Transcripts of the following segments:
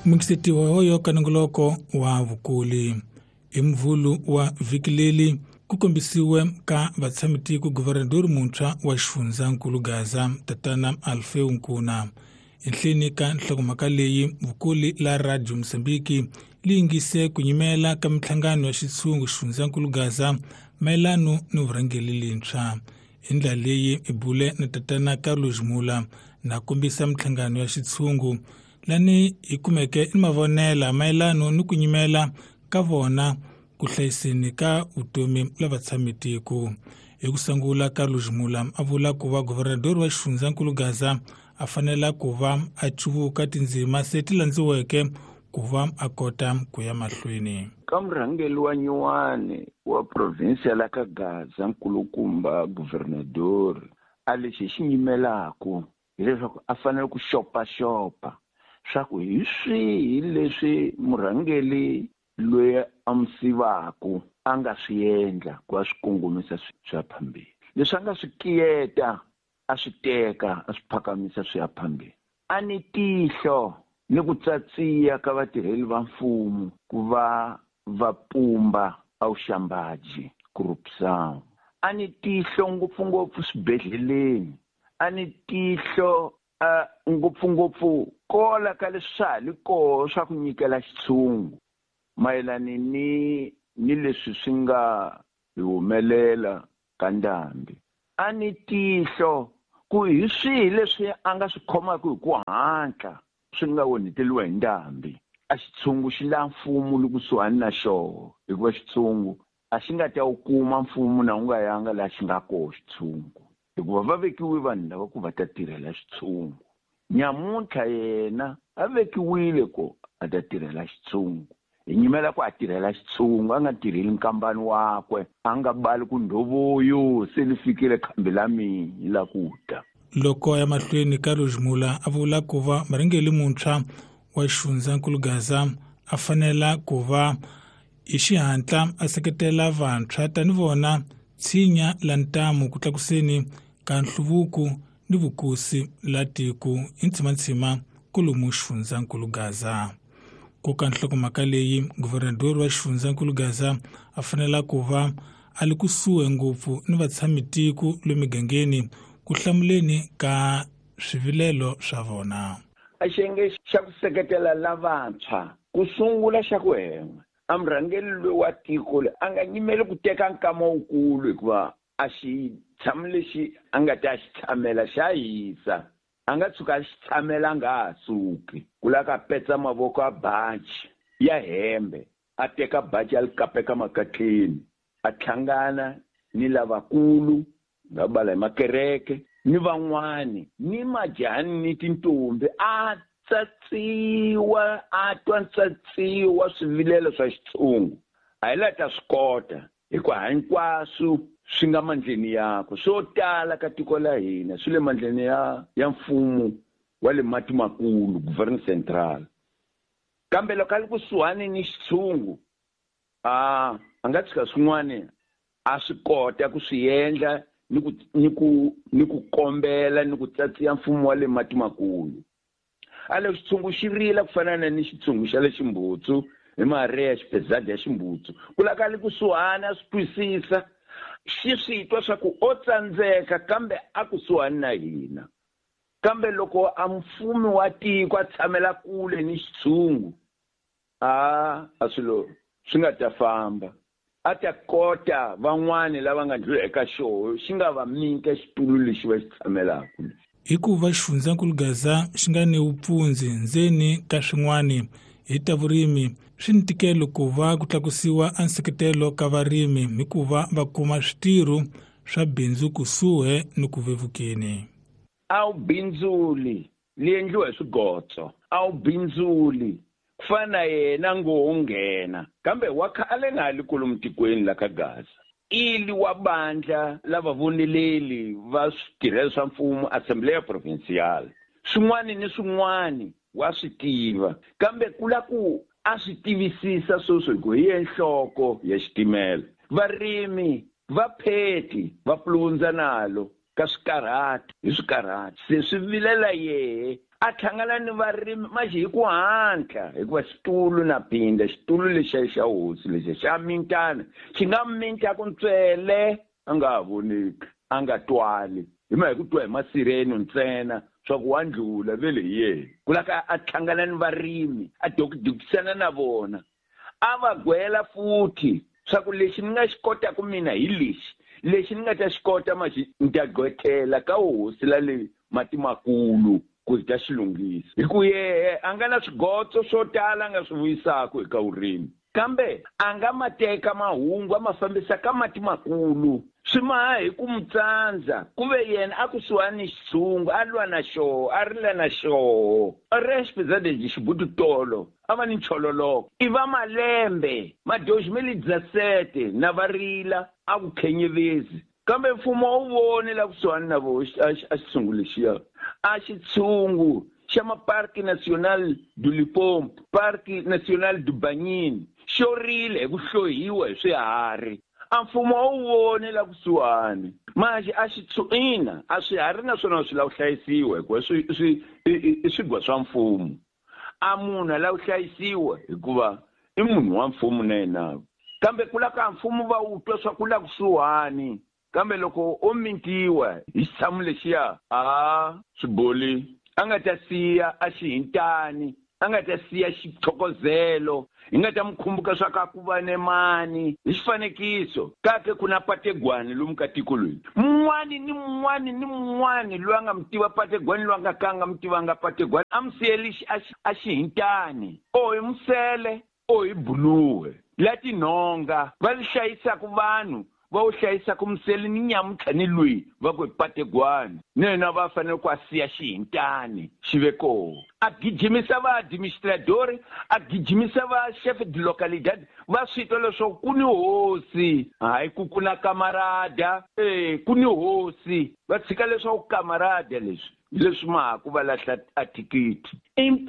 Mukisetiwa hoyo ka nongoloko wa vukuli hi mvulu wa vhiki leri ku kombisiwe ka vatshamitiko guvernador muntshwa wa xifundzankulu Gaza tatana Alfeu Nkuna. Enhleni ka nhlokomhaka leyi vukuli la Radio Mozambique li yingise ku nyimela ka minhlangano ya xitshungu xifundzankulu Gaza mayelano ni vurhangeri lintshwa. Hi ndlela leyi i bule na tatana Carlos Mula na kombisa minhlangano ya xitshungu lani hi kumeke ni mavonela mayelano ni ku nyimela ka vona ku hlayiseni ka vutomi la vatshamitiko. Hi ku sungula Carlos Mula a vula ku va guvernador wa xifundzankulu Gaza a fanela ku va a cuvuka tindzima se ti landziweke ku va a kota ku ya mahlweni. Ka murhangeri wa nyuwani wa provinsi ya la ka Gaza nkulukumba guvernador a lexi hi xi nyimelaku hileswaku a fanele ku xopaxopa swa ku hi swihi leswi murhangeri loyi a n'wi sivaku a nga swi endla ku a swi kongomisa swi ya phambili, leswi a nga swi kiyeta a swi teka a swi phakamisa swi ya phambili. A ni tihlo ni ku tsatsiya ka vatirheli va mfumo ku va va pumba a vuxambaji corruption. A ni tihlo ngopfungopfu swibedhleleni, a ni tihlo ngopfungopfu kola ka leswi swa ha li koho swa ku nyikela xitshungu mayelani ni leswi swi nga hi humelela ka ndhambi. A ni tihlo ku hi swihi leswi a nga swi khomaka hi ku hatla swi nga onheteliwa hi ndhambi. A xitshungu xi la mfumo li kusuhani na xoho, hikuva xitshungu a xi nga ta wu kuma mfumo na wu nga yanga laha xi nga koho xitshungu, hikuva va vekiwe vanhu lava ku va ta tirhela xitshungu. Nyamuntlha yena a vekiwile ku a ta tirhela xitshungu. Hi nyimela ku a tirhela xitshungu, a nga tirheli nkambani wakwe, a nga bali ku ndhovoyo se li fikile khambi la mina la ku ta. Loko ya mahlweni Carlos Mula a vula ku va murhangeri muntshwa wa xifundzankulu Gaza a fanela ku va hi xihatla a seketela vantshwa tani vona tshinya la ntamu ku tlakuseni ka nhluvuko ni vukosi la tiko hi ntsimantsima kolomu xifundzankulu Gaza. Ku ka nhlokomhaka leyi guvernador wa xifundzankulu Gaza a fanela ku va a li kusuhi ngopfu ni vatshamitiko le migangeni ku hlamuleni ka swivilelo swa vona. A xiyenge xa ku seketela lavantshwa ku sungula xa ku hen'we a murhangeri loyi wa tiko loyi a nga nyimeli ku teka nkama wukulu, hikuva a xi tshami lexi a nga ta xi tshamela xa hisa, a nga tshuka a xi tshamela a nga ha suki. Ku lava ka petsa mavoko a baji ya hembe, a teka baji a li kapeka makatleni, a hlangana ni lavakulu nga bala hi makereke ni van'wani ni majani ni tintombi, a tsatsiwa a twa ntsatsiwa swivilelo swa xitshungu. A hi la ta swi kota hikuva hinkwaswo swi nga mandleni yakwe. Swo tala ka tiko la hina swi le mandleni ya mfumo wa le mati makulu, Gouverneur Central. Kambe loko a li kusuhani ni xitshungu, a nga tshika swin'wana a swi kota ku swi endla ni ku kombela ni ku tsatsiya mfumo wa le mati makulu. A le xitshungu xi rila ku fana na ni xitshungu xa le Ximbutsu, hi Maria xipezadi ya Ximbutsu. Ku laka li kusuhani a swi twisisa, xi swi twa swa ku o tsandzeka kambe a kusuhani na hina. Kambe loko a mfumi wa tiko a tshamela kule ni xitshungu, a swilo swi nga ta famba. A ta kota van'wani lava nga ndlula eka xoho xi nga va nyika xitulu lexi va xi tshamelaka. Hikuva xifundzankulu Gaza xi nga ni vupfundzi ndzeni ka swin'wani hi ta vurimi, swi ni ntikelo ku va ku tlakusiwa a nseketelo ka varimi hikuva va kuma switirho swa bindzu kusuhi ni ku vevukeni. A wu bindzuli li endliwa hi swigotso, a wu bindzuli ku fana na yena ngo nghena, kambe wa khale nga ha li kolomu tikweni la ka Gaza. Ili wa bandla lava voneleli va switirhelo swa mfumo, Assembleia Provincial, swin'wani ni swin'wani wa swi tiva, kambe ku la ku a swi tivisisa sweswo hi ku hi ye nhloko ya xitimela. Varimi va pheti va pulundza nalo ka swikarhati hi swikarhati, se swi vilela yehe. A hlangana ni varimi maxi hi ku hatla hikuva xitulu na phinda xitulu lexiya xa hosi lexiya xa mintana xi nga mintaku ntswele a nga ha voneki a nga twali hi ma hi ku twa hi masireno ntsena swa ku wa ndlula vele hi yena ku la ka a hlangana ni varimi a dokidokisana na vona a va gwela futhi swa ku lexi ni nga xi kotaku mina hi lexi lexi ni nga ta xi kota maxi ni ta gqwethela ka hosi la le mati makulu ku hi ta xi lunghisa hi ku yehe a nga na swigotso swo tala a nga swi vuyisaku eka vurimi kambe a nga ma teka mahungu a ma fambisa ka mati makulu swi maha hi ku mu tsandza ku ve yena a kusuhani ni xitshungu a lwa na xoho a rila na xoho a ri xipizadezi xibutu tolo a va ni nchololoko i va malembe ma 2017 na va rila a ku khenyevezi kambe mfumo a wu voni la kusuhani na vo a xitshungu lexiya a xitshungu xa maparki national du Limpopo parki national du Banyini xo rile hi ku hlohiwa hi swiharhi a mfumo a wu voni la kusuhani manje a ina a swiharhi naswona swi lava ku hlayisiwa hikuva i swigwa swa mfumo a munhu a lava ku hlayisiwa hikuva i munhu wa mfumo na yena kambe ku la ka mfumo va wu twa swa ku la kusuhani kambe loko o mintiwa hi xitshamo lexiya a swiboli a nga ta siya a xihintani a nga ta siya xithokozelo hi nga ta mu khumbuka swa ka ku va ne mani hi xifanekiso ka ke ku na pategwani lomu ka tiko loyi mun'wani ni mun'wani ni mun'wani loyi a nga mu tiva pategwani loyi a nga ka a nga mu tivanga pategwani a mu siyeli a xihintani o hi musele o hi buluwe la tinhonga va li hlayisaku vanhu va wu hlayisaku musele ni nyamuntlha ni lweyi va ku hi pategwani na yena va fanele ku a siya xihintani xi ve koho a gijimisa va administradori a gijimisa va chef de localidade va swi twa leswaku ku ni hosi hayi ku ku na kamarada e ku ni hosi va tshika leswaku kamarada leswi hi leswi mahaku va lahla a thikithi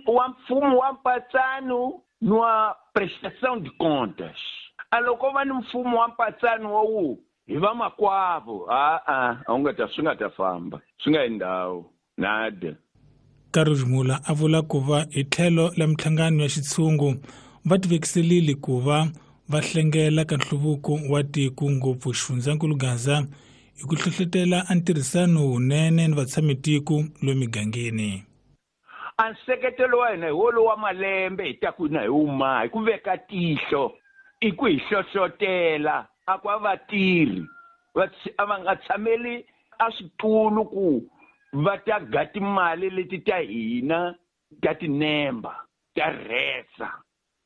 wa mfumo wa mpatsano ni wa prestação de contas a loko va ni mfumo wa mpatsano wa wu hi vamakwavo a-a a wu nga ta swi nga ta famba swi nga yi ndhawu nada. Carlos Mula a vula ku va hi tlhelo la minhlangano ya xitshungu va tivekiselile ku va va hlengela ka nhluvuko wa tiko ngopfu xifundzankulu Gaza hi ku hlohlotela a ntirhisano wunene ni vatshamitiko lomu migangeni. A nseketelo wa hina hi wolowo wa malembe hi ta ku na hi wuma hi ku veka tihlo i ku hi hlohlotela a ku a vatirhi a va nga tshameli a switulu ku va ta ga timali leti ta hina ta tinemba ta rhesa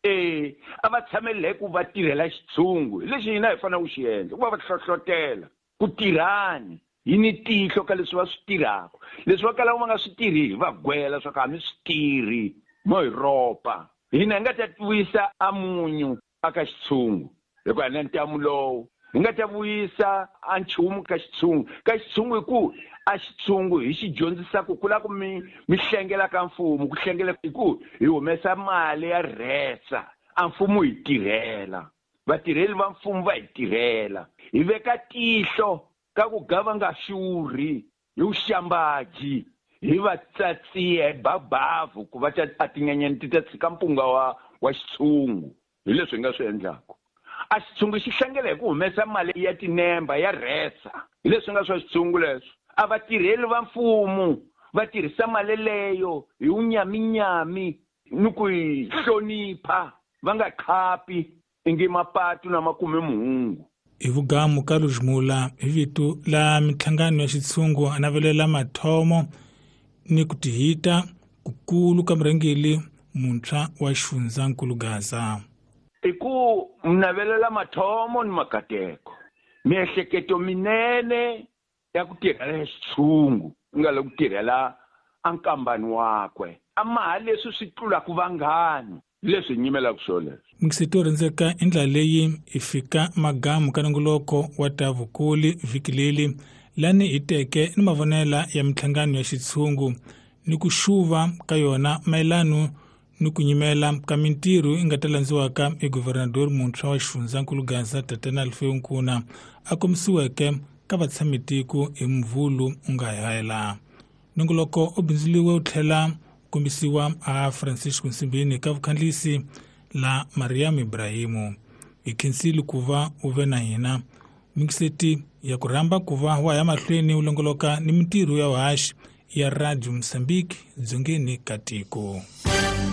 e a va tshameli hi ku va tirhela xitshungu hi lexi hina hi fanele ku xi endla ku va va hlohlotela ku tirhani hi ni tihlo ka leswi va swi tirhaka leswi va kalaka va nga swi tirhi hi va gwela swa ku a mi swi tirhi mo hi ropa hina hi nga ta vuyisa a munyu aka xitshungu hikuva hi na ntamu lowu hi nga ta vuyisa a nchumu ka xitshungu ka xitshungu hi ku a xitshungu hi xi dyondzisaku ku la ku mi mi hlengela ka mfumo ku hlengela hi ku hi humesa mali ya rhesa a mfumo hi tirhela vatirheli va mfumo va hi tirhela hi veka tihlo ka ku ga va nga xurhi hi vuxambaji hi va tsatsiya hi babavu ku va ta a tinyenyani ti ta tshika mpunga wa xitshungu hi leswi hi nga swi endlaku a xitshungu xi hlangela hi ku humesa mali ya tinemba ya rhesa hi leswi nga swa xitshungu leswo a vatirheli va mfumo va tirhisa mali leyo hi wunyaminyami ni ku yi hlonipha va nga khapi ingi mapatu na makume muhungu. Hi vugamu Carlos Mula hi vito la minhlangano ya xitshungu a navelela mathomo ni ku tihita kukulu ka murhangeri muntshwa wa xifundzankulu Gaza. I ku navelela mathomo ni makateko miehleketo minene ya ku tirhela xitshungu ku nga le ku tirhela a nkambani wakwe a maha leswi swi tlulaka vanghani leswi hi nyimelaka swo leswo. Mixito rhendzeka i ndlela leyi hi fika magamu ka nongoloko wa ta vukuli vhiki leri lani hi teke ni mavonela ya minhlangano ya xitshungu ni ku xuva ka yona mayelano ni ku nyimela ka mintirho yi nga ta landziwaka hi guvernador muntshwa wa xifundzankulu Gaza Tatana Alfeu Nkuna a komisiweke ka vatshamitiko hi Mvhulu u nga hela. Nongoloko u bindzuriwe wu tlhela Kombisiwa a Francisco Nsimbini ka vukhandlisi la Mariam Ibrahimu. Hi khensile ku va u ve na hina. Mikiseti ya ku rhamba ku va wa ya mahlweni u longoloka ni mintirho ya vuhaxi ya Radio Mozambique dzongeni ka tiko.